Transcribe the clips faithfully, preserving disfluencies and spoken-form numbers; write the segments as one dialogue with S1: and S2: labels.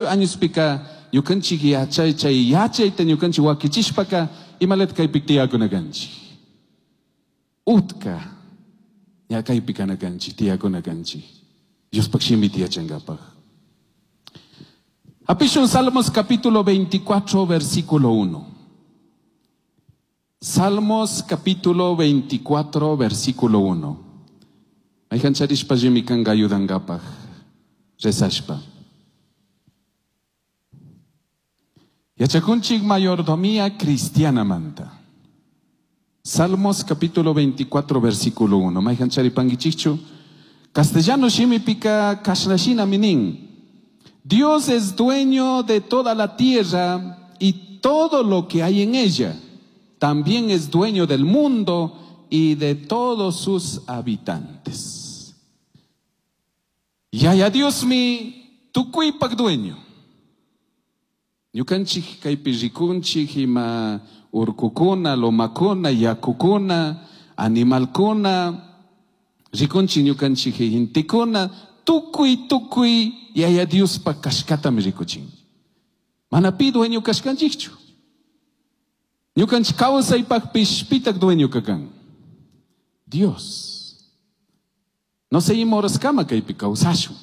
S1: añospika ñukanchik yachay chay yachayta ñukanchik wakichishpaka imalata kaypi tiyakuna kanchik. Utka ña kaypi kana kanchik, tiyakuna kanchik. Diospaj shimita yachankapaj. Hapishun Salmos capítulo veinticuatro, versículo uno. Salmos capítulo veinticuatro, versículo uno. Mayhan charishpa allimi kanka ayudankapaj. Rezashpa. Yachakunchik mayordomía cristiana manta. Salmos capítulo veinticuatro, versículo uno. Mayhan charipankichikchu. Castellano shimipika kashnashina minin. Dios es dueño de toda la tierra y todo lo que hay en ella. También es dueño del mundo y de todos sus habitantes. Yaya Dios mi tukuypak dueño. Ñukanchik kaypi rikunchik ima urkukuna, lomakuna, yakukuna, animalkuna, rikunchik ñukanchik gentekuna, tukuy tukuy Yaya Diospa kashkatami rikuchin. Mana pi dueño kashkanchikchu. Ñukanchik kawsaypaqpish pitaq dueño kakan. Dios. No sé ima horaskama kaypi kawsashun.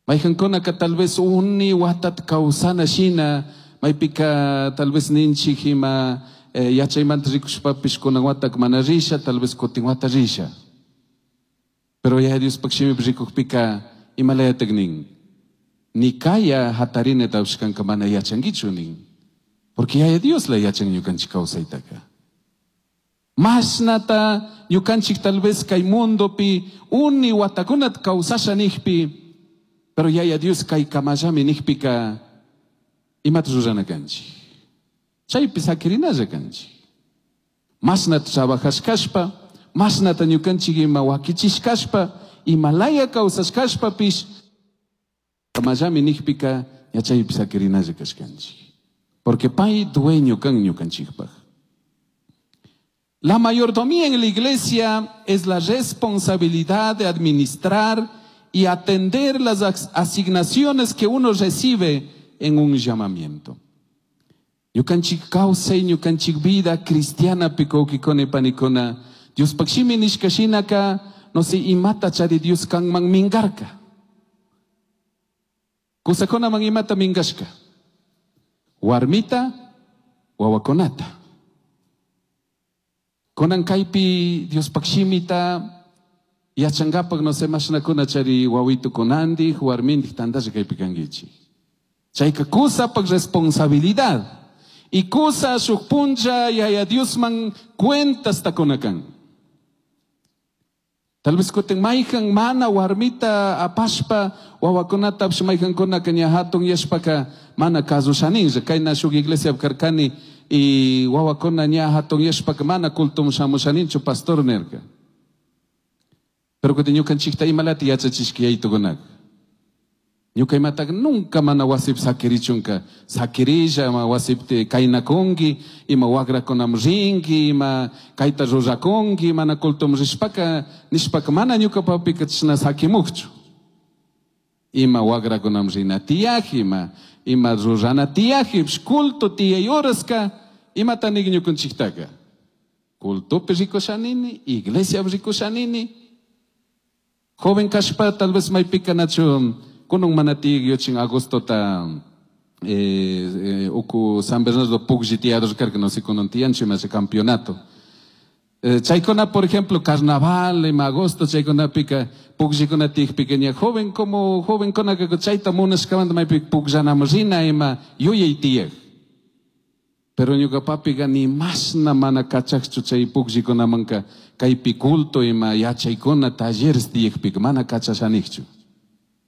S1: Mayqankunaka tal vez uni watat kawsana shina, maypika tal vez ninchik ima, eh, yachaymanta rikushpapish kunan watak mana risha, tal vez kutin wata risha. Pero Yaya Diospaq shimipi rikukpika imalayatak nin. Ni kaya hatarina tawshkanka mana yachankichu nin. Porque Yaya Dios la yachan ñukanchik kawsaytaka. Mashnata ñukanchik tal vez kay mundopi uni watakunat kawsasha nijpi, pero Yaya Dios kay kamallami nijpika imata rurana kanchik. Chaypi sakirinalla kanchik. Mashnata trabajashkashpa, mashnata ñukanchik ima wakichishkashpa, imalaya kawsashkashpapish, kamallami nijpika ña chaypi sakirinalla kashkanchik. Porque pay dueño kan ñukanchikpaj. La mayordomía en la iglesia es la responsabilidad de administrar y atender las as-, asignaciones que uno recibe en un llamamiento. Ñukanchik kawsay, ñukanchik vida cristiana pikokikone panikona. Dios pakshimi nishkashinaka, no sé, imata chari Dios kanman mingarka. Kusakona man imata mingashka. Warmita, wawakonata. Konan kaypi Dios pakshimita, yachangapak no sé, mashnakuna chari wawitu konandij, warmindij tandasha kaypi kankichik. Chayka kusapak responsabilidad. Y kusa shuk puncha yaya Diosman cuentas takonakan. Tal vez kutin mayhan mana warmita apashpa wawakunata apsh mayhan kunaka ña hatun yashpaka mana kasushaninlla. Kayna shuk iglesia karkani y wawakuna ña hatun yashpaka mana cultum shamushaninchu pastor nerka. Pero kutin ñukanchikta imalata yachachishka yaytukunaka. Ñuka imataka nunca mana wasip sakirichunka. Sakirilla, ima wasipti kaynakunki, ima wakrakunam rinki, ima kayta rurakunki, mana cultum rishpaka, nishpaka mana ñuka papika chashna sakimukchu. Ima wakrakunam rina tiyaj, ima, ima rurana tiyaj, culto tiyay horaska, imata nik ñukanchiktaka. Cultopi rikushanini, iglesia rikushanini. Joven kashpa tal vez maypika nachu kunun mana tiyag yochin agosto ta, eh, eh, uku San Bernardo pugji tiyados karka, no sé, kunun tiyanchu ima campeonato. Eh, chaykuna, por ejemplo, carnaval, en agosto, chaykuna pika, pugllикuna tiyakpika ña joven como joven kunaka chayta munashkamanta maypi pugllanam rina ima yuyay tiyag. Pero ñuka papiga ni masna mana kachakchu chay pugllikunamanka kaypi culto ima yachaykuna talleres tiyakpika mana kachashanikchu.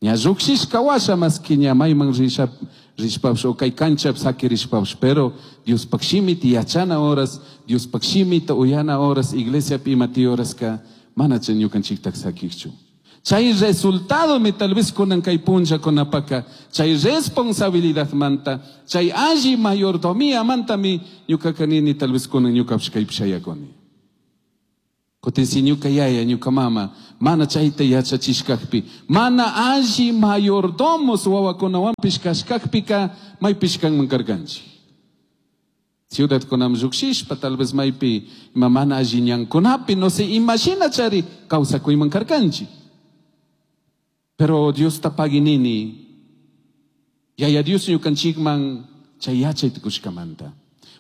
S1: Ña llukshishka washa maski ña mayman risha, rishpapish o kay kanchapi sakirishpapish, pero Diospaj shimita yachana horas, Diospaj shimita uyana horas, iglesiapi ima tiy horaska mana chay ñukanchiktak sakikchu. Chay resultado mi tal vez kunan kay punllakunapaka, chay responsabilidad manta, chay alli mayordomía manta mi ñukaka nini tal vez kunan ñukapish kaypi shayakuni. Kutin si ñuka yaya, ñuka mama, mana chayta yachachishkakpi, mana alli mayordomos wawakunawanpish kashkakpika maypish kanman karkanchik. Ciudadkunaman llukshishpa, tal vez maypi ima mana alli ñankunapi, no sé, imashina chari kawsakuyman karkanchik. Pero Diosta paginini, yaya Dios ñukanchikman chay yachay tukushkamanta.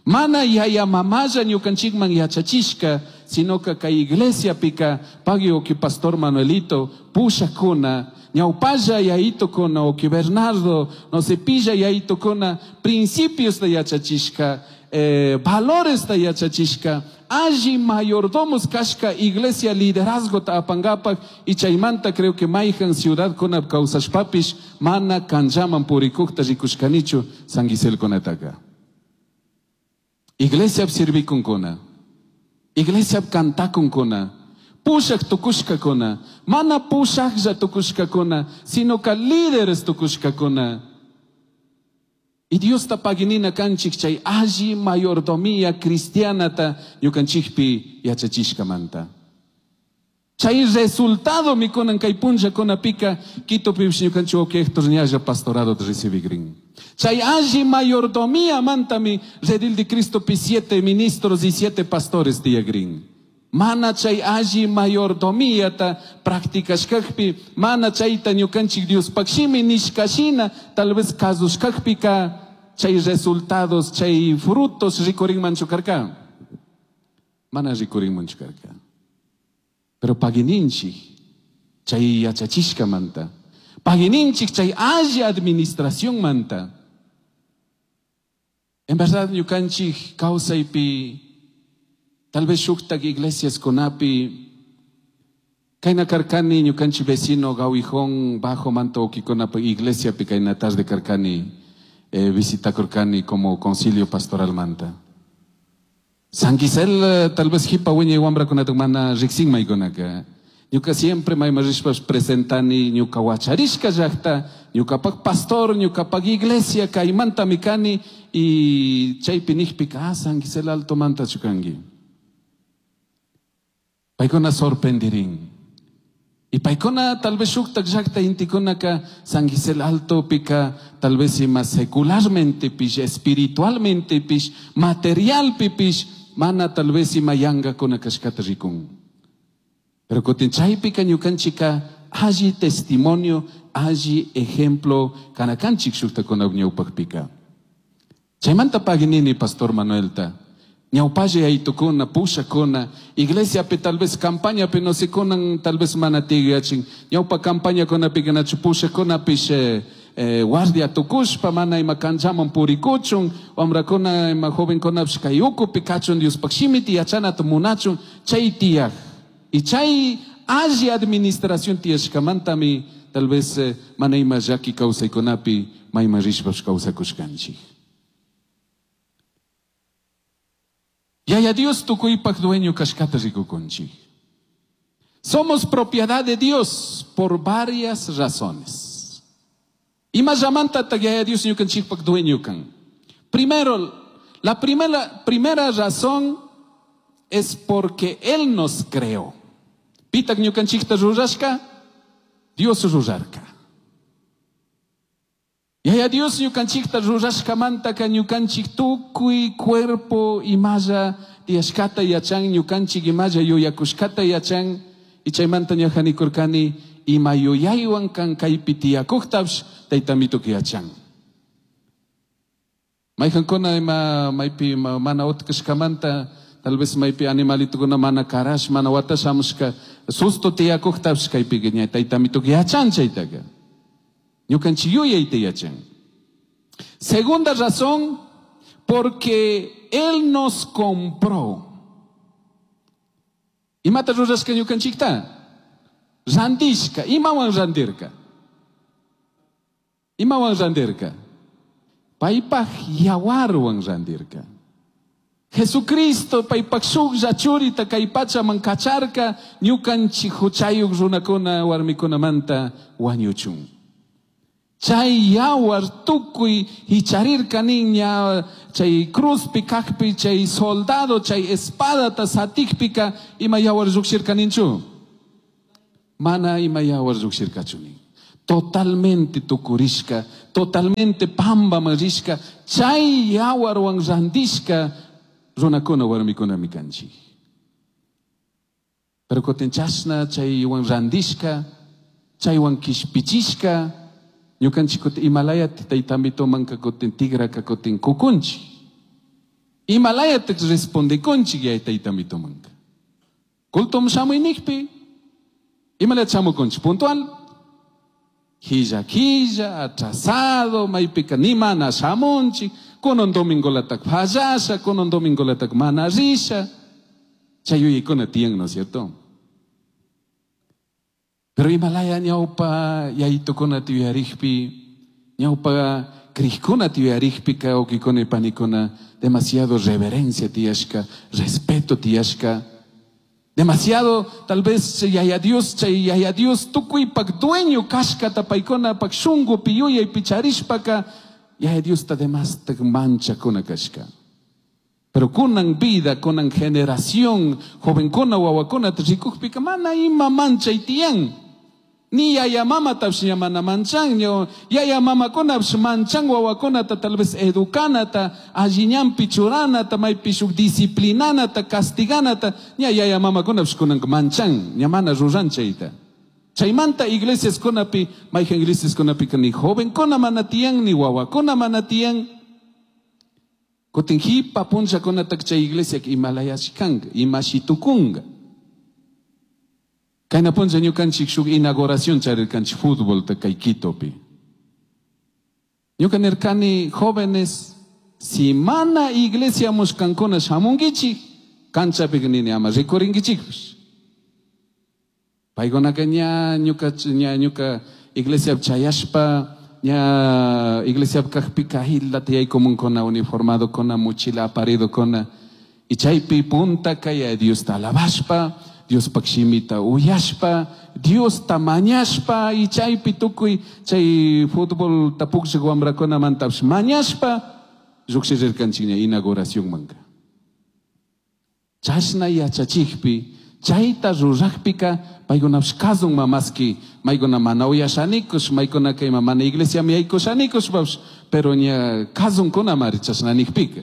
S1: Mana yaya mamalla ñukanchikman yachachishka, sino que kay iglesiapika pagui uki pastor Manuelito, pushakuna, ñawpalla yayitokuna, uki Bernardo, no sé, pilla yayitokuna, principios de yachachishka, eh, valores de yachachishka, alli mayordomos kashka iglesia liderazgo ta apangapak, y chaymanta creo que mayhan ciudad kuna kawsashpapish, mana kanllaman purikukta rikushkanichu San Gisel kunataka. Iglesia sirvikunkuna, iglesia kantakunkuna, pushak tukushkakuna, mana pushaklla tukushkakuna, sino ka líderes tukushkakuna. Y Diosta paginina kanchik chay alli mayordomía cristianata ñukanchikpi yachachishkamanta. Chay resultado mikunan kay punllakunapika Quitopipish ñukanchik wawki Héctor ñalla pastorado recibigrin. Chay alli mayordomía mantami Redil de Cristo pi siete ministros y siete pastores tiyagrin. Mana chay alli mayordomíata practicashkakpi, mana chayta ñukanchik Diospaq shimi nishkashina, tal vez kasushkakpika chay resultados, chay frutos rikurinmanchu karka. Mana rikurinmanchu karka. Pero pagininchik chay yachachishkamanta, pagininchik chay alli administración manta. En verdad ñukanchik kawsaypi, tal vez shuktak iglesias kunapi, kayna karkani ñukanchik vecino Gawijón bajo manto ukikunapa iglesiapi kayna tarde karkani, eh, visitakurkani como concilio pastoral manta. San Gisel, eh, tal vez hipa wiñay wamrakunata mana riksinmaykunaka. Ñuka siempre mayman rishpash presentani ñuka wacharishka llakta, ñukapak pastor, ñukapak iglesia, kaymantami kani, y chaypi nijpika, ah, San Gisel Alto manta chukanki. Paykuna sorprendirin. Y paykuna tal vez shuktak llakta intikunaka San Gisel Alto pika tal vez ima secularmente pish, espiritualmente pish, material pish, mana tal vez ima yankakuna kashkata rikun. Pero kutin chaypika ñukanchika alli testimonio, alli ejemplo kanakanchik shuktakuna ñawpakpika. Chaymanta paginini Pastor Manuelta. Ñawpalla yaytukuna, pushakuna, iglesiapi tal vez campañapi no sé kunan tal vez mana tigachin. Ñawpa campañakunapi nachu pushakunapish, eh, eh, guardia tukushpa mana ima kanchaman purikuchun, wamrakuna ima jovenkunapish kay ukupi kachun Diospaq shimita yachanata munachun, chay tiyaj. Y chay alli administración tiyashkamantami tal vez, eh, mana ima llaki kawsaykunapi mayman rishpash kawsakushkanchik. Yaya Dios tukuypaq dueño kashkata rikukunchik. Somos propiedad de Dios por varias razones. Ima llamanta Yaya Dios ñukanchikpaq dueño kan. Primero, la primera, primera razón es porque Él nos creó. Pitak ñukanchikta rurashka, Dios rurarka. Yaya Dios ñukanchikta rurashkamantaka ñukanchik tukuy cuerpo imalla tiyashkata yachan, ñukanchik imalla yuyakushkata yachan, y chaymanta ñajanikurkani ima yuyaywan kan kaypi tiyakuktapish taytamituk yachan. Mayhankuna ima maypi ima mana utkashkamanta, tal vez maypi animalitukuna mana karash, mana watashamushka, susto tiyakuktapish kaypi ña taytamituk yachan chaytaka. Ñukanchik yuyayta yachan. Segunda razón, porque Él nos compró. Imata rurashka ñukanchikta? Randishka. Imawan randirka? Imawan randirka? Paypaj yawarwan randirka. Jesucristo paypaj shuklla churita kay pachaman kacharka ñukanchik huchayuq runakuna warmikunamanta wañuchun. Chay yawar tukuy hicharirka niña, chay cruzpi kajpi chay soldado chay espadata satikpika ima yawar llukshirka ninchu? Mana ima yawar llukshirkachu nin. Totalmente tukurishka, totalmente pambaman rishka, chay yawarwan randishka runakuna warmikunami kanchik. Pero kutin chashna chaywan randishka, chaywan kishpichishka, ñukanchik kutin imalayati taytamitomanka kutin tigraka kutin kukunchik. Imalayati respondekunchik yay taytamitomanka. Cultum shamuynikpi, imalayat shamukunchik puntual. Quilla, quilla, atrasado, maypika ni mana shamunchik, kunan domingolatak fallasha, kunan domingolatak mana risha. Chay yuyaykuna tiyan, ¿no es cierto? Pero imalaya ñawpa yaytukuna tiyarikpi, ñawpa krikuna tiyarikpika, ukikuna y panikuna, demasiado reverencia tiyashka, respeto tiyashka. Demasiado, tal vez, yaya Dios, chay yaya Dios, tukuypak dueño kashkata paykuna pak shungupi yuyay picharishpaka, yaya Dios ta demastak manchakuna kashka. Pero kunan vida, kunan generación, jovenkuna, wawakuna, rikukpika mana ima manchay tiyan. Ni yaya mama tapsh ña mana manchan, ño, yaya mamakunapish manchan wawakunata tal vez educanata, alliñanpi churanata, maypi shuk disciplinanata, castiganata, ña yaya mamakunapish kunanka manchan, ña mana ruran chayta. Chaymanta iglesiaskunapi, mayhan iglesiaskunapika ni jovenkuna mana tiyan, ni wawakuna mana tiyan. Kutin hipa punllakunatak chay iglesiaka imalayashkanka, imashitukunka. Kayna punlla ñukanchik shuk inauguración charirkanchik fútbol kay Quitopi. Ñuka nirkani jóvenes, si mana iglesia mushkankuna shamunkichik, kanchapika nini ama rikurinkichikpish. Paykunaka ña ñuka ña ñuka iglesia chayashpa, ña iglesia kajpika hillata yaykumunkuna uniformado kuna mochila aparido kuna. Y chaypi punta kay Diosta alabashpa, Diospak shimita uyashpa, Diosta mañashpa, y chaypi tukuy chay fútbol tapukshik wamrakunamantapish mañashpa, llukshirirkanchik ña inauguración manka. Chashna yachachikpi, chayta rurajpika, paykunapish kasun mamaski, maykuna mana uyashanikush, maykunaka ima mana iglesiami yaykushanikushpapish, pero ña kasunkunamari chashna nikpika.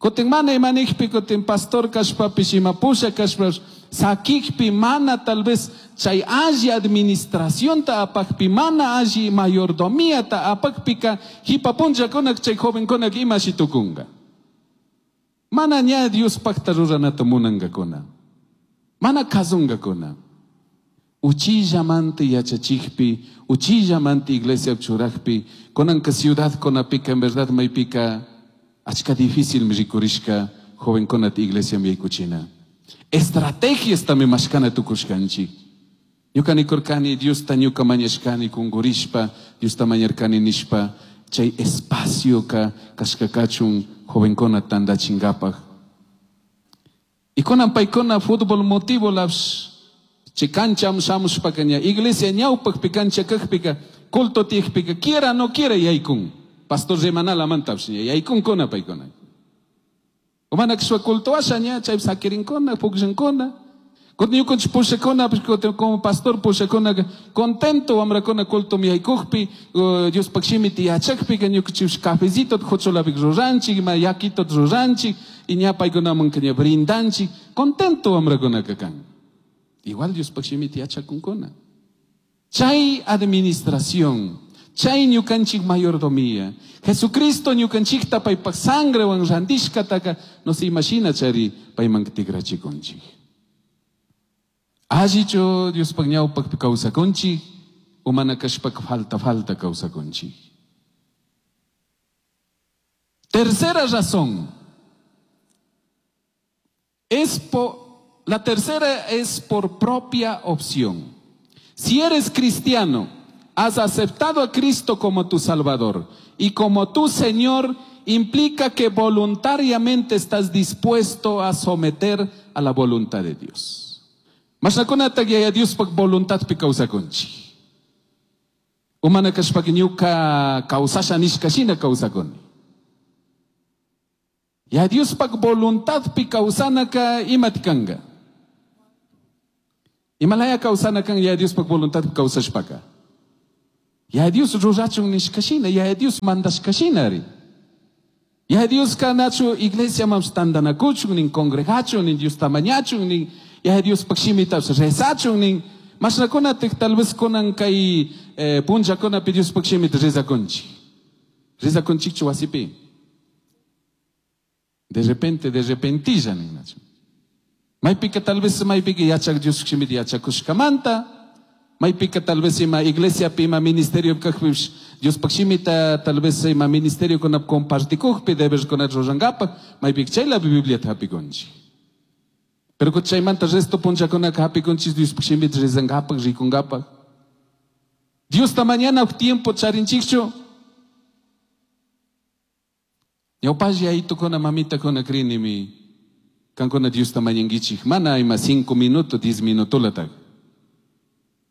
S1: Kutin mana ima nikpi, kutin pastor kashpapish, ima pusha kashpapish, sakikpi mana tal vez chay alli administracionta apakpi, mana alli mayordomiata apakpika, hipa punllakunak chay jovenkunak ima shitukunga. Mana ña Diospakta ruranata munankakuna. Mana kasunkakuna. Uchillamanta yachachikpi, uchillamanta iglesia churakpi, kunanka ciudad kunapika, en verdad maypika, achka difícil mi rikurishka jovenkunata iglesia mi yaykuchina. Estrategias también mashkana tukushkanchik. Ñuka nikurkani, Diosta ñuka mañashkani kungurishpa, Diosta mañarkani nishpa, chay espacio ka kashka kachun jovenkuna tandachinkapak. Y kunan paykuna fútbol motivo laps, chay kancha shamushpaka ña, iglesia ñawpakpi kancha kajpika, culto tiyakpika, quiera no quiera yaykun. Pastor rimanala mantapsh ña, yaykunkuna paykuna. Umana kishwa culto asha ña, chay sakirinkuna, pukllankuna. Kutin ñukanchik pushakuna, pues, kutin como pastor pushakuna, contento wamrakuna culto mi yaykukpi, uh, Diospak shimita yachakpika, ñukanchik cafecito juchulapik ruranchik, ima yakito ruranchik, y ña paykunamanka ña brindanchik, contento wamrakunaka kan. Igual Diospaj shimita yachakunkuna. Chay administración, chay ñukanchik mayordomía, Jesucristo ñukanchikta paypak sangrewan randishkataka, no se imagina chari payman tikrachikunchik. Allichu Diospaj ñawpakpi kawsakunchik, umana kashpaka falta falta kawsakunchik. Tercera razón. Es po, la tercera es por propia opción. Si eres cristiano, has aceptado a Cristo como tu Salvador y como tu Señor, implica que voluntariamente estás dispuesto a someter a la voluntad de Dios. Masnakunata yaya Diospaj voluntadpi kawsakunchik. Umana kashpaka ñuka kawsasha nishka shina kawsakuni. Yaya Diospaj voluntadpi kawsanaka imata kanka? Imalaya kawsana kan Yaya Diospaj voluntadpi kawsashpaka? Yaya Dios rurachun nishka shina, Yaya Dios mandashka shinari. Yaya Dioska nachu iglesiaman tantanakuchun nin, congregachun nin, Diosta mañachun nin, Yaya Diospaj shimitapish rezachun nin. Mashnakunatik tal vez kunan kay eh, punllakunapi Diospaj shimita rezakunchik. Rezakunchikchu wasipi. De repente, de repentilla nin nachu. Maypika tal vez maypika yachak Dios shimita yachakushkamanta, maypika tal vez ima iglesiapi ima ministerio kajpipish Diospaj shimita tal vez ima ministeriokunap compartikukpi deberkunata rurankapak, maypika chaylapi Bibliata hapikunchik. Pero chaymanta resto punllakunaka hapikunchik Diospaj shimita rezankapak, rikunkapak. Diosta mañana tiempo charinchikchu. Ñawpalla yayitukuna mamitakuna crinimi kankuna Diosta mañankichik mana ima cinco minutos, diez minutolatak.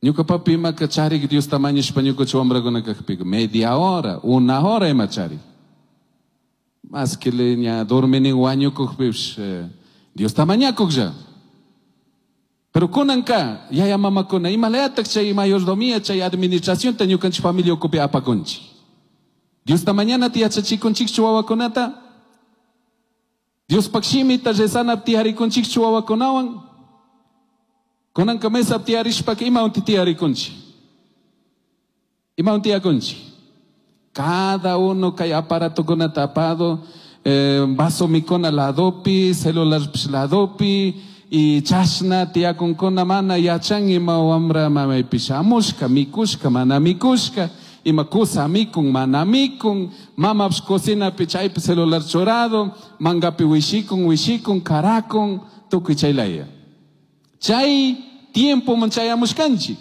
S1: Ñuka papi imaka charik Diosta mañashpa ñuka wambrakuna kakpika media hora, una hora ima charik. Más que le ña dormini wañukukpipish eh, Diosta mañakuklla. Pero kunanka yaya mamakuna imalayatak chay mayordomía, chay administracionta ñukanchik familia ukupi apakunchik. Diosta mañanata yachachikunchikchu wawakunata? Diospaj shimita rezanapi tiyarikunchikchu wawakunawan? Kunanka mesapi tiyarishpaka imawan tiyarikunchik? Imawan tiyakunchik? Cada uno kay aparatokunata apado, eh, vaso mikuna ladopi, celular ladopi, y chashna tiyakunkuna mana yachan ima wambra mamaypi shamushka, mikushka, mana mikushka, ima kusa mikun, mana mikun, mamapish cocinapi chaypi celular churado, mangapi wishikun, wishikun, karakun, tukuy chaylaya. Chay tiempoman chayamushkanchik.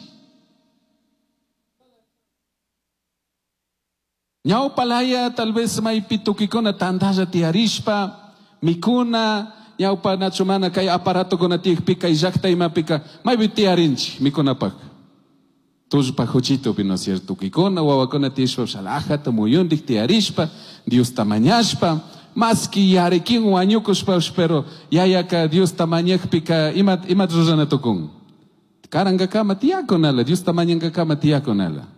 S1: Ñawpalaya tal vez maypi tukikuna tantalla tiyarishpa, mikuna, ñawpa nachu mana kay aparatokuna tiyakpika, kay llakta imapika, maypi tiyarinchik mikunapak. Tullpa juchitopi, ¿no es cierto? Tukikuna, wawakuna tiyashpa, alajata, muyundik tiyarishpa, Diosta mañashpa, más que yarikin wañukushpa, pero yayaka Diosta mañakpika, ima, ima rurana tukun. Karankakama tiyakunala, Diosta mañankakama tiyakunala.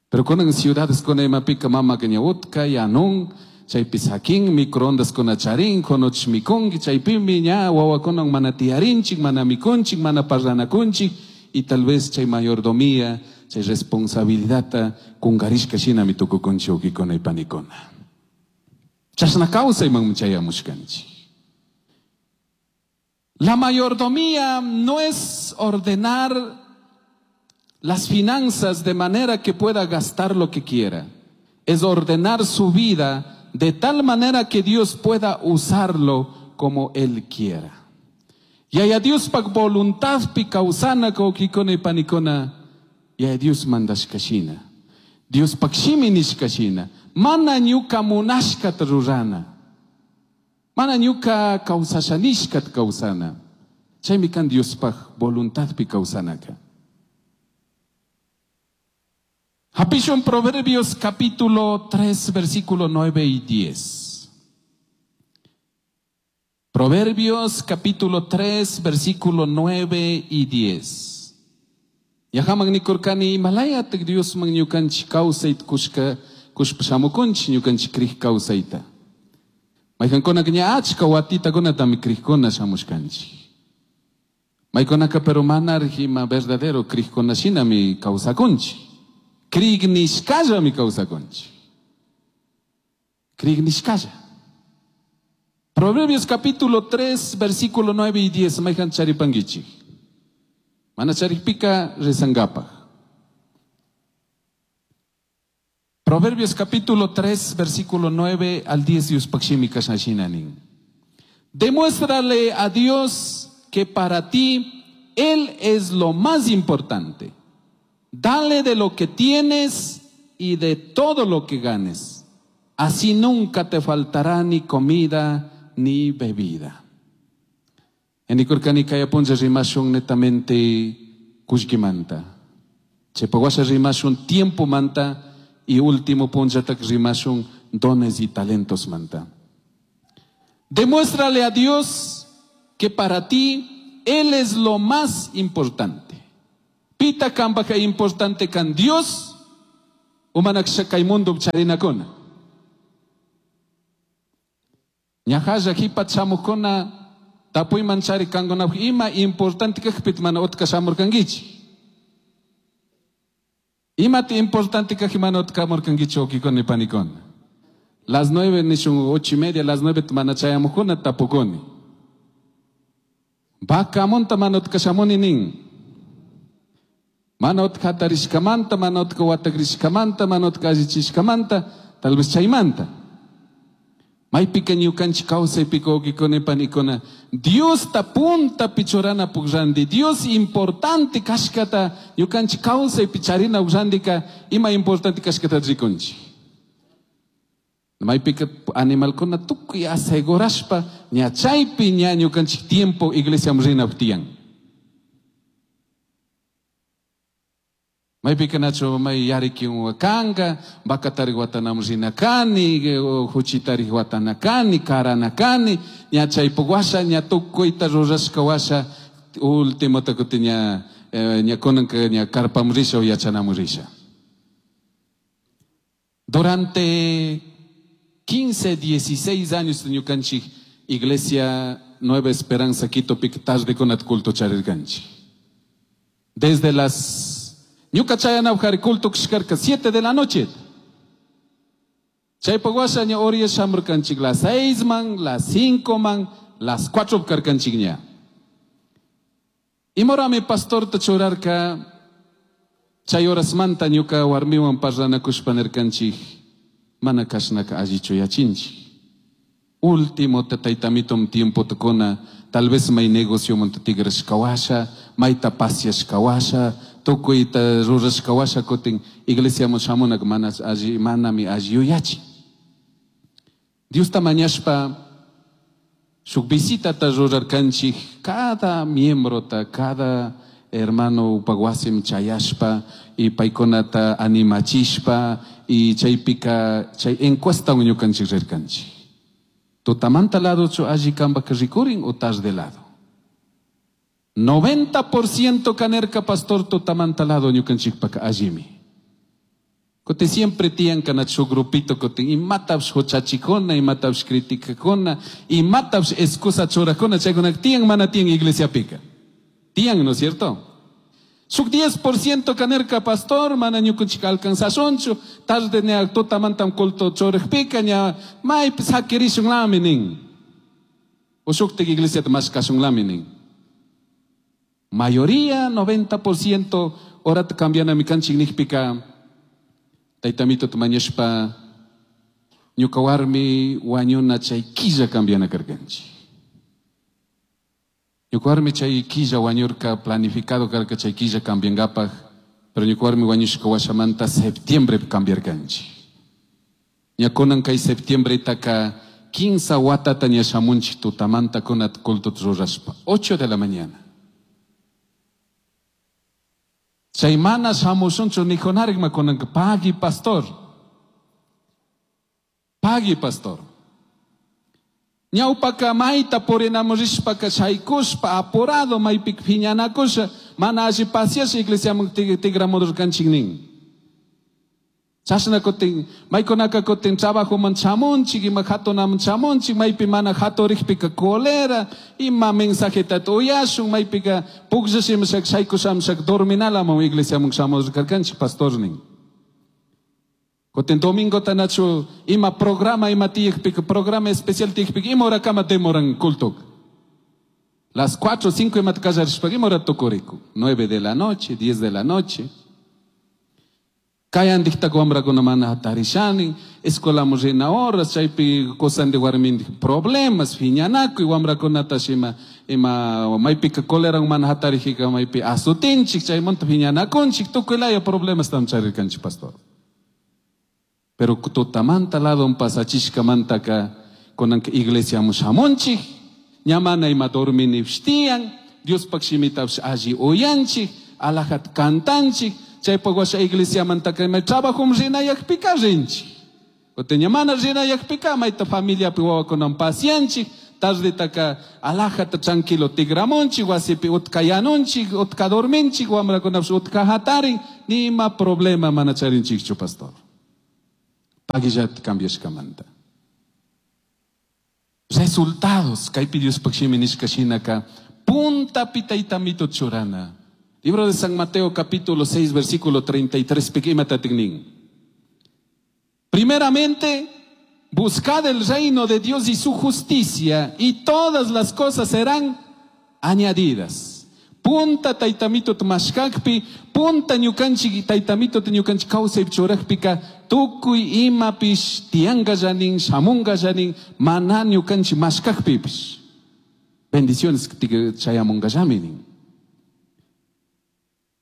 S1: Pero kunan ciudades kuna imapika mamaka ña utka, yanun, chaypi sakin, microondas kuna charin, konoch mikunki, chaypimi ña wawakunan mana tiyarinchik, mana mikunchik, mana parlanakunchik, y tal vez chay mayordomía, chay responsabilidadta kungarishka shinami tukukunchik wawkikuna y panikuna. Chashna kawsayman chayamushkanchik. La mayordomía no es ordenar las finanzas de manera que pueda gastar lo que quiera. Es ordenar su vida de tal manera que Dios pueda usarlo como Él quiera. Yaya Diospaj voluntadpi kawsana wawkikuna y panikuna, Yaya Dios mandashka shina, Diospaj shimi nishka shina, mana ñuka munashkata rurana, mana ñuka kawsasha nishkata kawsana. Chaymi kan Diospaj voluntadpi kawsanaka. Hapishun Proverbios capítulo tres, versículo nueve y diez. Proverbios capítulo tres, versículo nueve y diez. Yahaman nikurkani imalayatak Diosman ñukanchik kawsayta kushka, kushpa shamukunchik ñukanchik krij kawsayta. Mayqankunaka ña achka watitakunatami krijkuna shamushkanchik. Maykunaka pero manaraj ima verdadero krijkuna shinami kawsakunchik. Krig nishkallami kawsakunchik. Krig nishkalla. Proverbios capítulo tres, versículo nueve y diez, mayqan charipankichik. Mana charipika rezangapaj. Proverbios capítulo tres, versículo nueve al diez, Diospaj shimi kashna shina nin. Demuéstrale a Dios que para ti Él es lo más importante. Dale de lo que tienes y de todo lo que ganes. Así nunca te faltará ni comida ni bebida. En Ikurkani kaya punlla rimashun netamente kullkimanta. Chaypawasha rimashun tiempo manta y último punllatak rimashun dones y talentos manta. Demuéstrale a Dios que para ti Él es lo más importante. Pita cambajca importante can Dios o mana kay mundo charinakuna. Ñahalla jipat shamujkuna tapuyman chari kankunapaj ima importante kajpit mana utka shamurkankichik. Imata importante kajpi mana utka shamurkankichik wawkikuna y panikuna. Las nueve nishun ocho y media, las nueve mana chayamujkuna tapukuni. Vacamonta mana utka shamuni nin. Mana utka hatarishkamanta, mana utka watakrishkamanta, mana utka allichishkamanta, tal vez chaymanta. Maypika ñukanchik kawsaypika wawkikuna y panikuna, Diosta puntapi churana ranti, Dios importante kashkata ñukanchik kawsaypi charina rantika ima importante kashkata rikunchik. Maypika animalkuna tukuy asegurashpa ña chaypi ña ñukanchik tiempo iglesiaman rina tiyan. Maypika nachu may yarikin kanka, bakatari watanam rina kani, huchitari watana kani, karana kani, ña chaypuk washa, ña tukuyta rurashka washa, último kutin ña, ña kunanka ña karpam risha o yachanam risha. Durante quince, dieciséis años ñukanchik Iglesia Nueva Esperanza Quito pik tarde kunat culto charirkanchik. Desde las ñuka chayanapaj culto kashkarka siete de la noche. Chaypaq washa ña oriya shamurkanchik las seis man, las cinco man, las cuatro karkanchik ña. Imorami pastorta churarka chay horasmanta ñuka warmiwan parlanakushpa nirkanchik mana kashnaka allichu yachinchik. Último taytamitum tiempo tukuna, tal vez may negocio monta tigrashka washa, mayta pasiashka washa, tukuyta rurashka washa kutin iglesiaman shamunak mana alli, manami alli yuyachi. Diosta mañashpa shuk visitata rurarkanchik cada miembrota, cada hermano upag wasim chayashpa y paykunata animachishpa y chaypika chay encuesta ñukanchik rirkanchik. Tutamanta lado chu alli kambak rikurin o tarde lado. noventa por ciento kanerka pastor tutamanta lado ñukanchikpaka allimi. Kote siempre tiyan kanachu grupito kote imatapsh huchachikuna, imatapsh criticakuna, imatapsh excusa churakuna, chaykuna tiyan mana tiyan iglesia pika. Tiyan, ¿no es cierto? Shuk diez por ciento kanerka pastor, mana ñukanchik alcanzashunchu, tarde ña tutamantam culto churajpika ña maypis hakirishunlami nin. O shuktik iglesiata mashkashunlami nin. Mayoría, noventa por ciento, horata cambianami kanchik nijpika, taytamito mañashpa, ñuka warmi wañuna chay killa cambiana karkanchik. Ñuka warmi chay killa wañurka planificado karka chay killa cambiangapaj, pero ñuka warmi wañushka washamanta septiembre cambiarkanchik. Ña kunan kay septiembre taka quince watata ña shamunchik tutamanta kunat culto rurashpa, ocho de la mañana. Chay mana shamushunchu nijonarikma kunanka pagui pastor. Pagui pastor. Ñawpaka mayta purinamurishpaka shaykushpa apurado maypik phiñanakusha mana alli pasiasha iglesiaman tigramurkanchik nin. Chashna kutin maykunaka kutin trabajoman chamunchik ima hatunaman chamunchik maypi mana haturikpika colera ima mensajeta uyashun maypika pukllashimashak shaykushamshak dorminalaman iglesiaman shamurkarkanchik pastor nin. Kutin domingo tanachu ima programa ima tiyakpika programa especial tiyakpika ima horakama demoran culto. Las cuatro, cinco ima kallarishpaka ima hora tukuriku. Nueve de la noche, diez de la noche. Kayandikta wamrakuna mana hatarishani, escuelaman rina horas, chaypi kusandi warmindik problemas, phiñanakuy wamrakunata ima, ima maypika coleran mana hatarijika maypi asutinchik, chaymanta phiñanakunchik, tukuy laya problemas tam charirkanchik pastor. Pero tutamanta ladon pasachishkamantaka kunanka iglesiaman shamunchik, ña mana ima dorminipshtiyan, Diospaq shimitapsh alli uyanchik, alajat kantanchik, chaypaq washa iglesiamantaka ima trabajom rinayakpika rinchik. Kutin ña mana rinayakpika mayta familiapi wawakunan pasianchik, tardetaka alajata tranquilo tigramunchik, wasipi utka yanunchik, utka dorminchik, wamrakunapish utka hatarin, nima problema mana charinchikchu, pastor. Paguillat cambiashkamanta. Resultados, kaypi Diospaj shimi nishka shinaka, puntapi taytamito churana. Libro de San Mateo capítulo seis versículo treinta y tres, imatatik nin. Primeramente, buscad el reino de Dios y su justicia, y todas las cosas serán añadidas. Punta taytamito tmashkakpi, punta ñukanchik taytamito ñukanchik kawsaypi churajpika, tukuy imapish tiyangallanin, shamungallanin, mana ñukanchik mashkakpipish. Bendiciones chayamungallamin nin.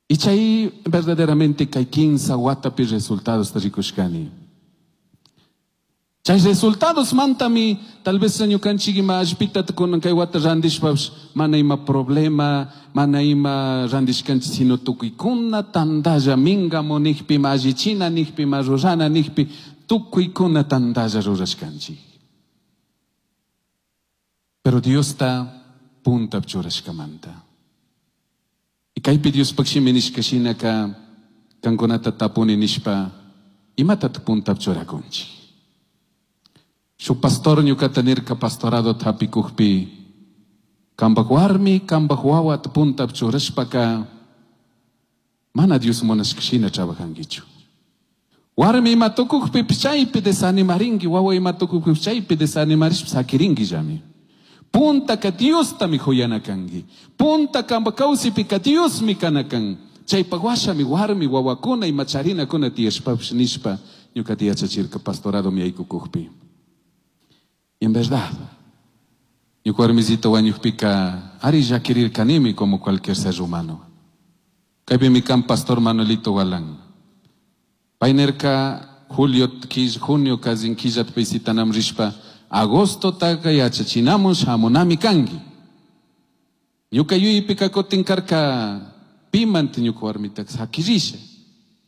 S1: Y chay verdaderamente kay kinsa watapi resultados rikushkani. Chay resultados mantami, tal vez ñukanchik ima allpita kunan kay wata randishpapish, mana ima problema, mana ima randishkanchik, sino tukuykuna tandalla mingamu nijpi, ima allichina nijpi, ima rurana nijpi, tukuykuna tandalla rurashkanchik. Pero Diosta punta churashkamanta. Y kaypi Diospaj shimi nishka shinaka, kankunata tapuni nishpa, imatat punta churakunchik. Shu pastor ñukata nirka pastorado tapikukpi, kambaj warmi, kambaj wawat punta churashpaka, mana Dios munashka shina trabajankichu. Warmi ima tukukpi chaypi desanimarinki, wawa ima tukukpi chaypi desanimarishpa sakirinki llami. Punta ka Diostami huyana kanki. Punta kamba kawsipika Diosmi kana kan. Chaypa washami warmi wawakuna ima charinakuna tiyashpapish nishpa ñukata yachachirka pastorado mi aykukukpi. Y en verdad, ñuka warmisito wañukpika ari llakirirkanimi como cualquier ser humano. Kaypimi kan pastor Manuelito Galán. Paynerka julio, junio kazin killat visitanam rishpa, agosto taka yachachinamun shamunami kanki. Ñuka yuypika kutin karka pimanti ñuka warmitaka sakirisha.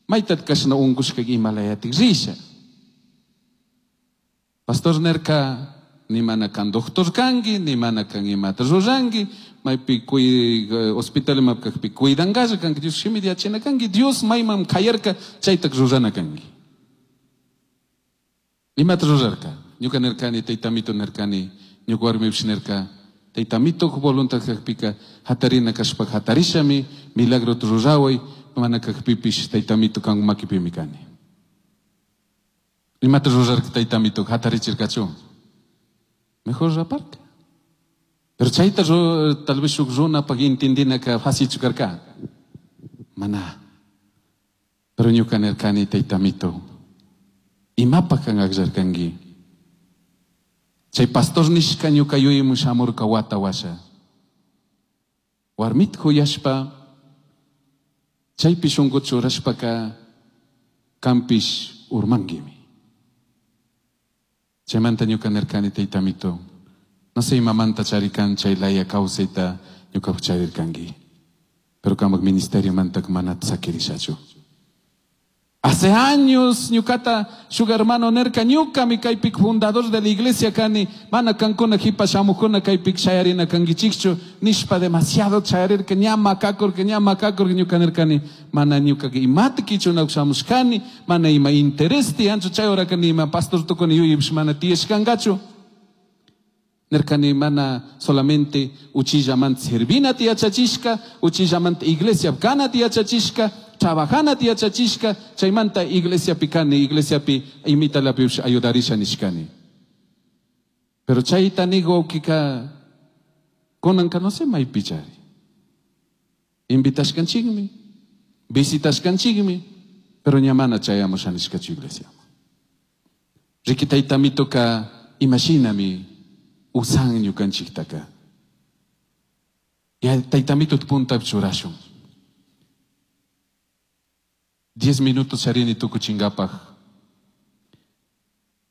S1: Maytat kashna unkushka imalayatik risha. Pastor nerka ni mana kan doctor kanki, ni mana kan imata ruranki, maypi kuy hospital mapkakpi cuidangasha kanki, Dios shimi yachina kanki, Dios maymam kayarka chaytak rurana kanki. Imata rurarka? Ñuka nerkani, taytamito nerkani, ñuka warmipish nerka, taytamito voluntad kakpika, hatarina kashpa hatarishami, milagrota ruraway, mana kakpipish taytamito kan makipimi kani. Imata rurarka taytamito hatarichirkachu? Mejor raparka. Pero chayta tal vez shuk runapaq intindinaka facilchu karka. Mana. Pero ñuka nerkani taytamito, imapaq kan akllarkanki? Chay pastor nishka ñuka yuyayman shamurka wata washa. Warmita huyashpa, chaypi shunku churashpaka kampish urmankimi. Chaymanta ñuka nirkani taytamito, no sé imamanta charikan chay laya kawsayta ñuka charirkanki. Pero kamak ministerio mantak mana sakirishachu. Hace años ñukata shuk hermano nerka ñukami kaypik fundador de la iglesia kani mana kankuna hipa shamukuna kaypik shayarina kankichikchu nishpa demasiado chayarirka ña makakurka ña makakurka ñuka nerkani mana ñuka imata kichuna shamushkani mana ima interés tiyanchu chay horaka ni ima pastor tukuni yuypish mana tiyashkankachu. Nerkani mana solamente uchillamanta servina tiyachachishka, uchillamanta iglesia kana tiyachachishka, trabajana tiyachachishka, chaymanta iglesiapi kani, iglesiapi imitalapish ayudarisha nishkani. Pero chayta nigo kika kunanka no sé maypichari. Invitashkanchikmi, visitashkanchikmi, pero ña mana chayamusha nishkachu iglesia. Riki taytamitoka imashinami usan ñukanchiktaka. Ya taytamito punta churashun. Diez minutos charini tukuchingapaj.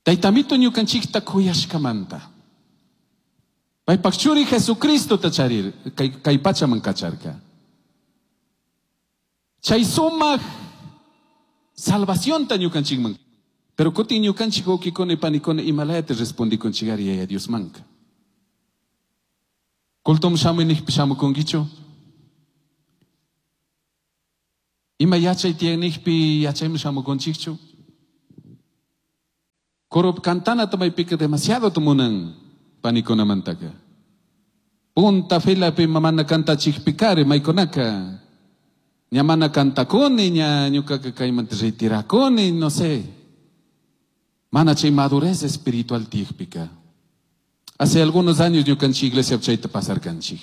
S1: Taytamito ñukanchikta kuyashkamanta. Paypaj churi Jesucristo ta charir, kay, kay pachaman kacharka. Chay sumaq salvación ta ñukanchikman. Pero kutin ñukanchik wawkikuna panikuna imalayata respondikunchikari Yaya Diosmanka. Cultoman shamuy nijpi shamukunkichu? Ima yachay tiyan nijpi yachayman shamukunchikchu? Coro cantanata maypika demasiado munan panikunamantaka. Punta filapi mana kantachikpikari maykunaka. Ña mana kantakuni, ña ñukaka kaymanta retirakuni, no sé. Mana chay madurez espiritual tiyakpika. Hace algunos años ñukanchik iglesia chayta pasarkanchik.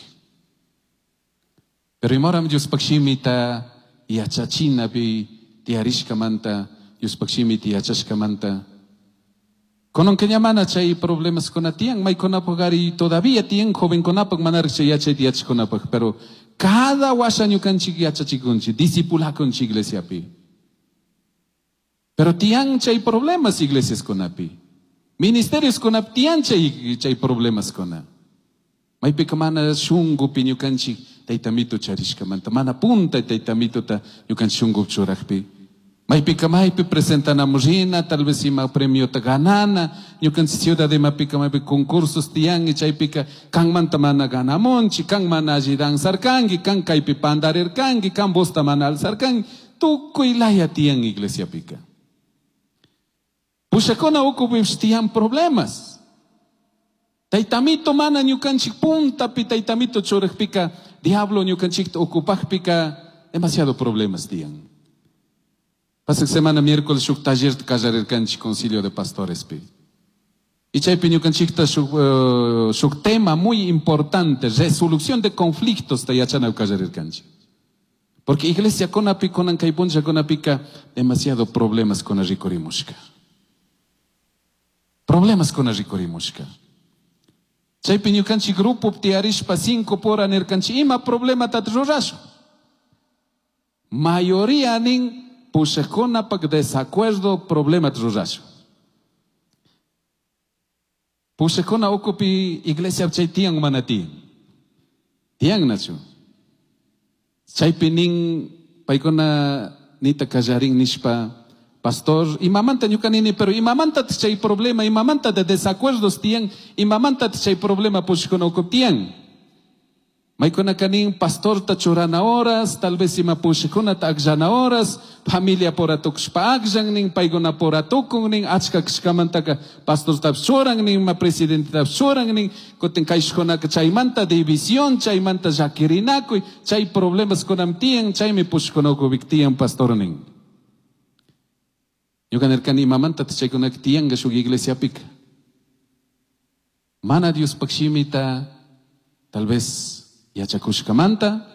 S1: Pero imaram Diospaq shimita yachachinapi tiyarishkamanta, Diospaq shimita yachashkamanta. Kunanka ña mana chay problemas kuna tiyan, maykunapaq ari todavía tiyan jovenkunapaq manaraq chay yachayta yachaqkunapaq, pero cada washa ñukanchik yachachikunchik, discipulakunchik iglesiapi. Pero tiyan chay problemas iglesias kunapi. Ministerios kunapi tiyan chay, chay problemas kuna. Maypika mana shungupi ñukanchik taytamito charishkamanta, mana punta taytamituta ñukanchik shungupi churajpi. Maypika maypi presentanamos rina, tal vez ima premiota ganana, ñukanchik ciudad imapika maypi concursos tiyan, chaypika kanmanta mana ganamunchik, kan mana alli danzarkanki, kan kaypi pandarirkanki, kan vozta mana alzarkanki, tukuy laya tiyan iglesiapika. Pushakuna ukupipish tiyan problemas. Taytamito mana ñukanchik puntapi taytamito churajpika, diablo ñukanchikta ocupajpika, demasiado problemas tiyan. Pasaq semana miércoles shuk taller kallarirkanchik concilio de pastorespi. Y chaypi ñukanchikta shuk, uh, shuk tema muy importante, resolución de conflictos ta yachana kallarirkanchik. Porque iglesia kunapi kunan kay punlla kunapika demasiado problemas kuna rikurimushka. Problemas kuna rikurimushka. Chaypi ñukanchik grupo tiyarishpa cinco pora nirkanchik ima problemata rurashun. Mayoría nin pushaqkunapak desacuerdo problema rurashun. Pushaqkuna ukupi iglesia chay tiyan mana tiyan. Tiyan nachu. Chaypi nin paykuna nita kallarin nishpa pastor, imamanta ñuka nini, pero imamanta chay problema, imamanta de desacuerdos tiyan, imamanta chay problema pushaqkuna ukupi tiyan. Maykuna kanin pastorta churana horas, tal vez ima pushaqkunata akllana horas, familia pora tukushpa akllan nin, paykuna pora tukun nin, achka kashkamantaka pastortapish churan nin, ima presidentetapish churan nin, kutin kayshkunaka chaymanta división, chaymanta llakirinakuy, chay problemas kunam tiyan, chaymi pushaqkuna ukupi tiyan pastor nin. Ñuka nirkani imamanta chaykunaka tiyanka shuk iglesiapika. Mana Diospaq shimita, tal vez yachakushkamanta,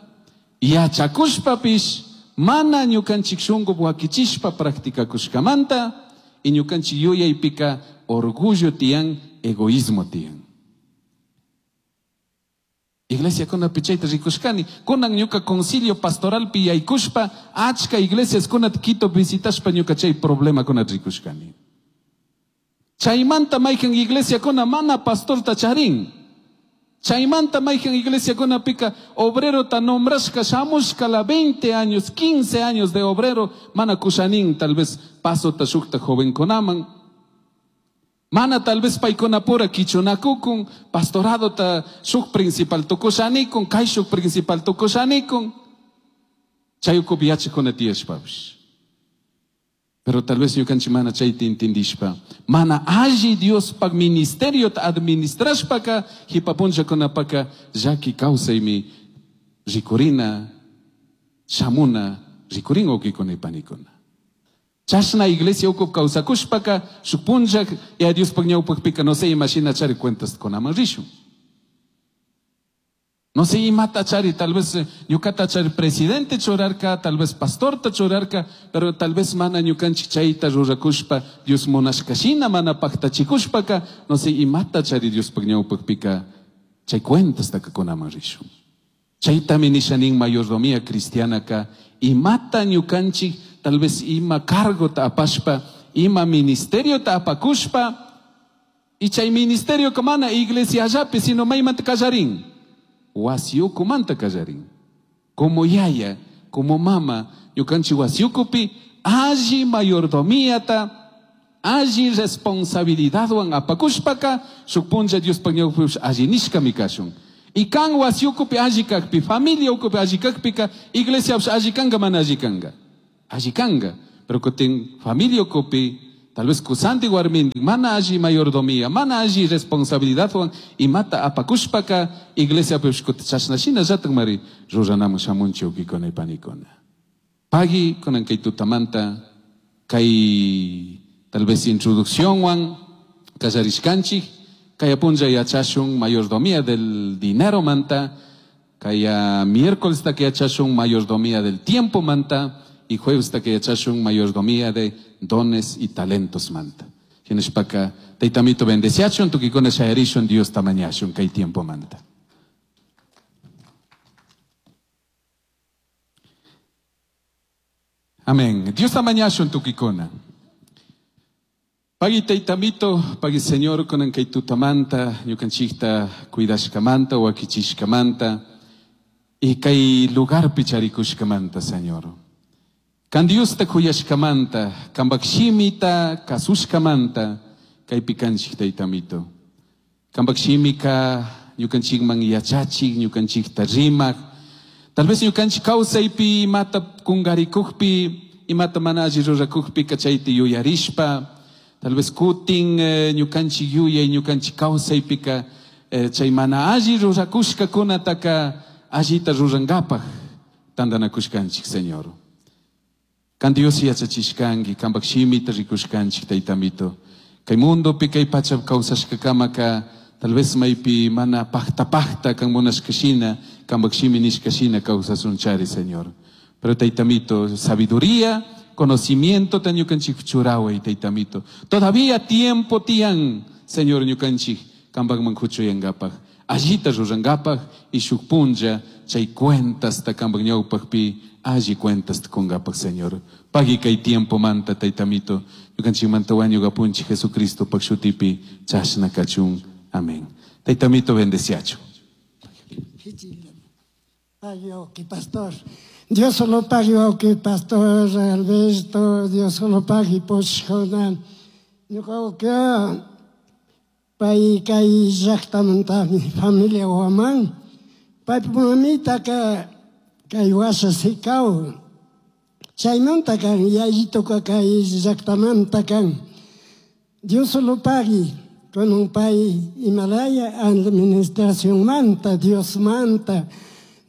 S1: yachakushpapish mana ñukanchik shunku wakichishpa practicakushkamanta, y ñukanchik yuyaypika orgullo tiyan, egoísmo tiyan. Iglesia kunapi chayta rikushkani, kunan ñuka concilio pastoralpi yaykushpa, achka iglesias kunata Quito visitashpa ñuka chay problema kunata rikushkani. Chaymanta maykan iglesia kuna mana pastorta charin. Chaymanta maykan iglesia kunapika obrero ta nombrashka shamushka la veinte años, quince años de obrero, mana kushanin tal vez paso ta shukta joven kunaman. Mana tal vez paykunapura kichunakukun, pastorado ta shuk principal tukushanikun, kay shuk principal tukushanikun. Chayukupi yachakuna tiyashpapish. Pero tal vez ñukanchik mana chayta intindishpa, mana alli Diospaq ministerio ta administrashpaka, hipapunllakunapaka llaki kawsaymi rikurina, shamuna, rikurin wawkikuna y panikuna. Chashna iglesia ukup kawsakushpaka, shuk punlla ya Diospaq ñawpaqpika no sé imashina chari cuentas kunaman rishun. No sé imata chari, tal vez ñukata chari presidente churarka, tal vez pastorta churarka, pero tal vez mana ñukanchik chayta rurakushpa, Dios munashkashina mana paktachikushpaka, no sé imata chari Diospaq ñawpaqpika chay cuentas takakunaman rishun. Chaytami nishanin mayordomía cristianaka, imata ñukanchik, tal vez ima cargo ta apashpa, ima ministerio ta apakushpa, y chay ministerio kamana iglesia allapi, sino maymanta kallarin. Wasiukumanta kallarin. Como yaya, como mama, ñukanchik wasiukupi alli mayordomíata alli responsabilidadwan apakushpaka shuk punlla Diospaj ñawpipish alli nishkami kashun. Y kan wasi ukupi alli kakpi, familia ukupi alli kakpika, iglesiapish alli kanka mana alli kanka. Alli kanka. Pero kutin familia ukupi, tal vez kusanti warminti, mana alli mayordomía, mana alli responsabilidadwan imata apakushpaka, iglesiapish kutin chashna shinallatak mari ruranamun shamunchik wawkikuna y panikuna. Pagui kunan kay tutamanta, kay tal vez introducciónwan kallarishkanchik, kay punlla yachashun mayordomía del dinero manta, kay miércoles ta yachashun mayordomía del tiempo manta, y jueves ta yachashun mayordomía de dones y talentos manta. Shinashpaka taytamito bendeciachun, tukikuna shayarishun, Dios tamañashun kay tiempo manta. Amén. Dios tamañashun tukikuna. Pagui taytamito, pagui Señor, kunan kay tutamanta, ñukanchikta cuidashkamanta, wakichishkamanta, y kay lugarpi charikushkamanta, Señor. Kan Diosta kuyashkamanta, kanpak shimita kasushkamanta, kaypi kanchik taytamito. Kanpak shimika ñukanchikman yachachik, ñukanchikta rimak. Tal vez ñukanchik kawsaypi imata kungarikukpi, imata mana alli rurakukpi kachayta yuyarishpa, tal vez kutin eh, ñukanchik yuyay, ñukanchik kawsaypika, eh, chay mana alli rurakushkakunataka allita rurankapaj tantanakushkanchik, Señor. Kan Dios yachachishkanki, kanpak shimita rikushkanchik, taytamito. Kay mundopi, kay pacha kawsashkakamaka, tal vez maypi mana pajta pajta kan munashkashina, kanpak shimi nishkashina kawsasunchari, Señor. Pero taytamito, sabiduría, conocimiento ta ñukanchik churaway, taytamito. Todavía tiempo tiyan, Señor, ñukanchik, kanpakman kuchuyankapaj. Allita rurankapaj y shuk punlla chay cuentas ta kanpak ñawpajpi, alli cuentas ta kunkapaj, Señor. Pagui kay tiempo manta, taytamito. Ñukanchik manta wañukapunchik Jesucristo pak shutipi chashna kachun. Amén. Taytamito bendeciachu.
S2: Pagui, pastor. Dios solo pague, que pastor Alberto, Dios solo pague, poshkona. Ñuka pay kay llaqtamanta mi familia waman. Pay mamita ka kay washa sikao. Chaymanta kan yayito ka kay llaqtamanta kan. Dios solo pague, con un pay Himalaya administración manta, Dios manta.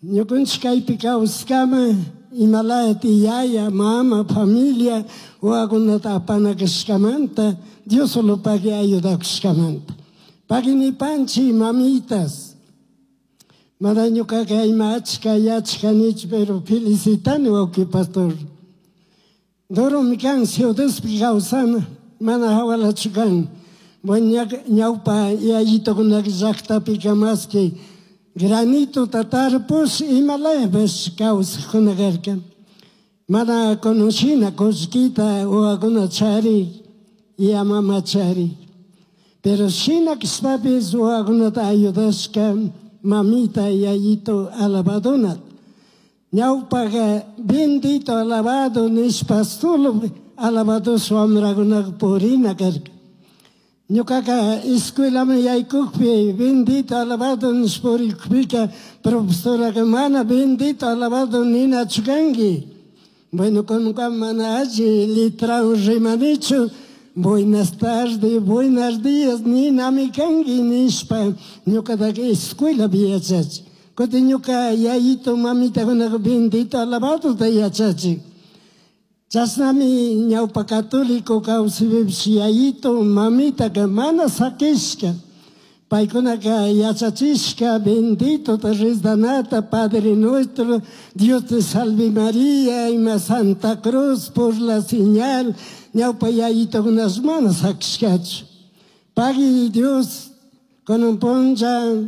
S2: Ñukanchik kaypi kawsaskama Himalaya tiyaya, mama, familia, wawakunata apanakashkamanta, Dios solo pague ayudakushkamanta. Pagui nipanchik mamitas. Mana ñukaka ima achka yachkanichu, pero felicitani wawqi pastor. Doromi kan ciudadpi kawsana, mana hawalachu kan. Bueno, ñawpa yayitukunaka llaqtapika maski granito tatarpus Himalayapis kawsaqkuna karka. Mana kunushina kullkita wawakuna chari, yamama chari. Pero shina kashpapis wawakunata ayudashka mamita yayito alabaduna. Ñawpaqa bendito alabado nishpa solo alabados wamrakunaka purina karka. Ñukaka escuelaman yaykukpi bendito alabado nishpa purikpika profesoraka mana bendito alabado ninachu kanki. Bueno, kunka mana alli letrawan rimanichu. Buenas tardes, buenos días, ninami kanki nishpa ñukataka escuelapi yachachi. Kutin ñuka yayito mamitakunaka bendito alabadota yachachi. Chashnami ñawpa católico kawsaypipish yayito mamitaka mana sakishka. Paykunaka yachachishka bendito rezdanata, Padre Nuestro, Dios te salve María, ima Santa Cruz por la señal, ñawpa yayitokunash mana sakishkachu. Pagui Dios, con un punlla,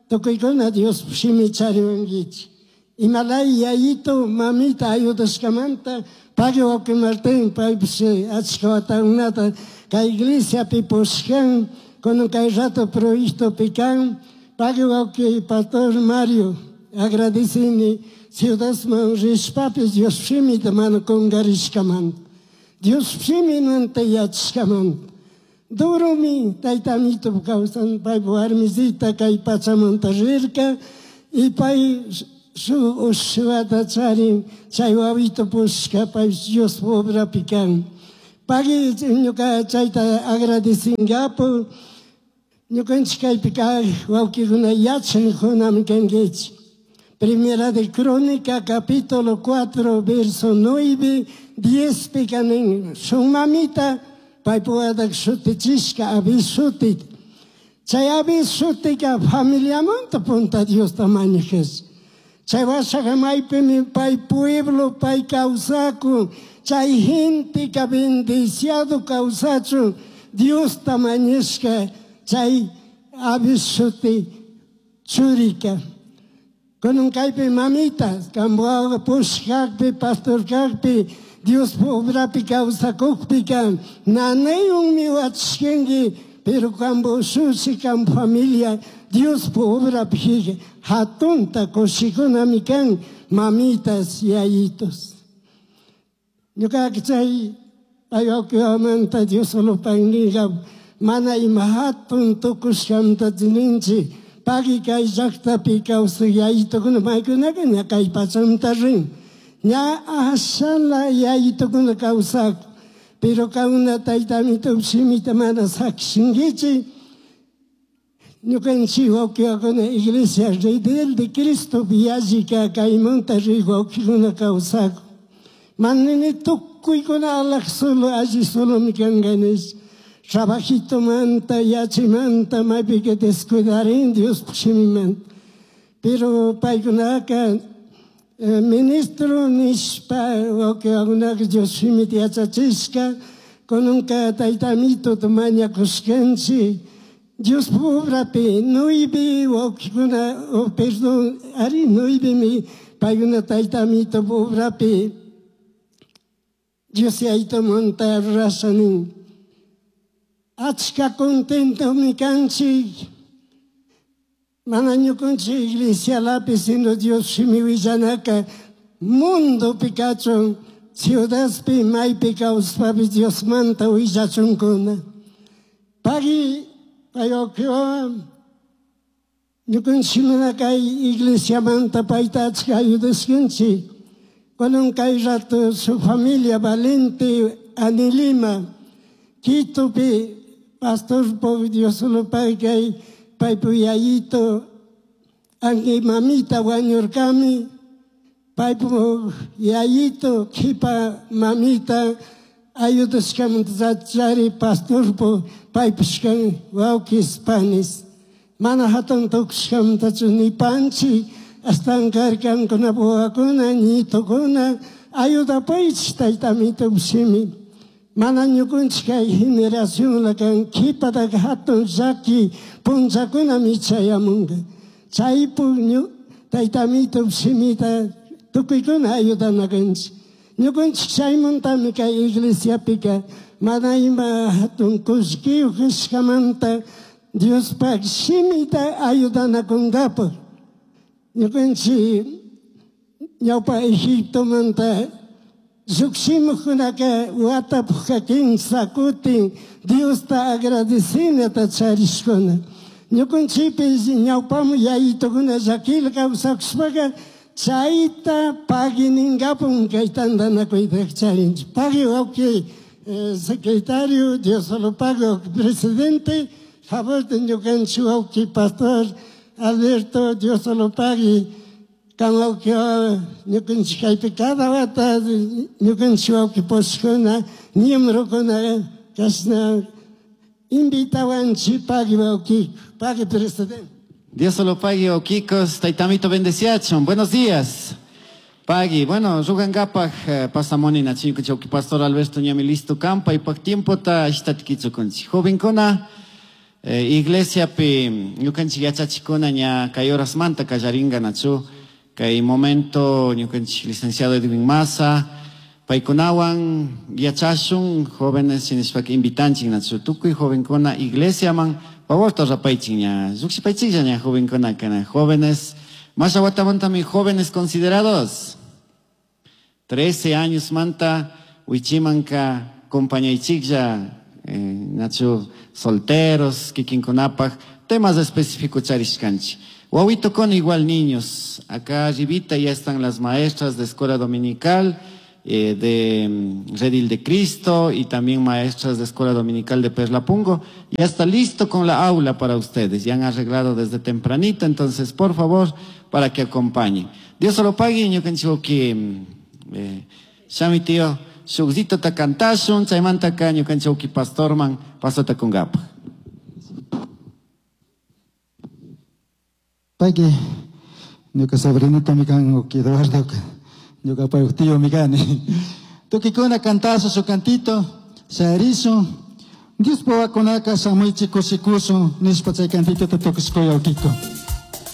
S2: tukuykuna Dios shimi chariwankichik. Imalay yayito mamita ayudashkamanta, pagui wawqi Martín, paypish achka watakunata kay iglesiapi pushkan, con kay rato proyectopi kan, pagui wawqi pastor Mario, agradecini ciudadman rishpapis Dios shimita mana kungarishkamanta. Dios shimimanta yachashkamanta. Durumi tayta amito kawsan pay warmisita kay pachamanta rirka y pay shuk ushuata charin chay wawito pushka pay Dios obrapi kan. Pagui ñuka chayta agradecingapu ñukanchik kaypi kaq wawkikuna yachankunami kankichik. Primera de Crónica, capítulo cuatro, verso nueve, diez pikanin. Shuk mamita paypuwatak shutichishka Abis shutit. Chay Abis shutika familiamanta punta Diosta mañajes. Chay washaqa maypimi pay pueblo pay kawsakun. Chay genteca bendiciado kawsachun Diosta mañashka chay Abis shuti churika. Kunan kaypi mamita, kambuaqa pushkaqpi, pastor kaqpi, Dios obrapi kawsakukpika, nanaywanmi wachishkanki, pero kambu ushushi, kam familia, Dios obrapi hatunta kushikunami kan, mamitas, yayitos. Ñuqaqa chay paywakiwamanta Dios solo panniqa mana ima hatun tukushkamanta ninchik. Pagui kay llaqtapi kawsaq yayitukuna maykunaqa ña kay pachamanta rin. Ña ashala yayitukuna kawsaq. Pero kauna tayta amito shimita mana sakishinkichik. Ñukanchik wawkikuna iglesia Redel de Cristo yallika kaymanta riq wawkikuna kawsaq. Manani tukuykuna alaq solo alli solomi kanqa nish. Trabajito manta, yachimanta, maypika descuidarin Dios shimimanta. Pero paykunaka eh, ministro nishpa wawkikunaqa Dios shimita yachachishka, kunanka tayta amito mañakushkanchik. Dios obrapi nueve wawkikuna, oh, perdón, ari nuevemi paykuna tayta amito obrapi Dios yayta monta rurasha nin. Achka contentomi kanchik. Mana ñukanchik iglesialapi, sino Dios shimi willanaka mundopi kachun, ciudadpi maypi kawspapi Diosmanta willachunkuna. Pagui paywakiwan ñukanchik mana kay iglesiamanta payta achka ayudashkanchik. Kunan kay rato su familia Valente Anilima, Quitopi pastor po Dios solo pay kay paypu yayito anki mamita wañurkami, paypu yayito kipa mamita ayudashkamanta chari pastor po paypushkan wawkis panis. Mana hatun tukushkamantachu ni panchi astawan karkankuna wawakuna ñitukuna ayudapaychik tayta amito shimi. Mana ñukanchik kay generacionla kan kipataka hatun llaki punllakunami chayamunka. Chaypu tayta amito shimita tukuykuna ayudanakanchik. Ñukanchik chaymantami kay iglesiapika mana ima hatun kullkiyuq kashkamanta Diospaq shimita ayudanakunkapaq. Ñukanchik ñawpa Egiptomanta llukshimuqkunaka watapukka kimsa kutin Diosta agradecinata charishkuna. Ñukanchikpis ñawpamu yayitukuna llakilla kawsakushpaka chayta pagui ninkapun kay tantanakuyta charinchik. Pagui wawki eh, secretario, Dios solo pago presidente, favor de ñukanchik wawki pastor Alberto, Dios solo pagui. Kan wawki ñukanchik kaypi cada wata ñukanchik wawki pushkuna, miembrokuna kashna invitawanchik pagui wawki, pagui presidente.
S3: Dios solo pague, wawkikos, taytamito bendeciachon. Buenos días. Pagui, bueno, rugankapaj eh, pasamoni na ñukanchik wawki pastor Alberto ñami listo kampa y pak tiempo ta ishtatikichukunchik. Jovenkuna, eh, iglesiapi ñukanchik yachachikuna ña kay horasmanta kallaringa nachu. Kay momento ñukanchik licenciado Edwin Maza, paykunawan yachashun jóvenes sinishpaka invitanchik nachu. Tukuy jovenkuna iglesiaman favorta rapaychik ña, lluqshipaychiklla ña jovenkuna kana jóvenes. Masha watamantami jóvenes considerados. trece años manta wichimanka Acompañaychiklla eh, nachu solteros, kikinkunapaj, temas específicos charishkanchik. Wawito con igual niños. Acá arribita ya están las maestras de escuela dominical, eh, de mm, Redil de Cristo y también maestras de escuela dominical de Perlapungo. Ya está listo con la aula para ustedes. Ya han arreglado desde tempranito, entonces por favor, para que acompañen. Dios se lo pague, ñukanchik eh, shami tío, shukzito ta kantashun, chaymantaka ñukanchik pastorman pasota kungapaj.
S4: Pagui, ñuka sobrinito mi kan uki Eduardo, ñuka pay tío mi kani. Tukikuna cantazo su cantito, sharizo. Dios powakunaka shamuichi kushikushun, nishpa chay cantito ta tukushkuya ukiko.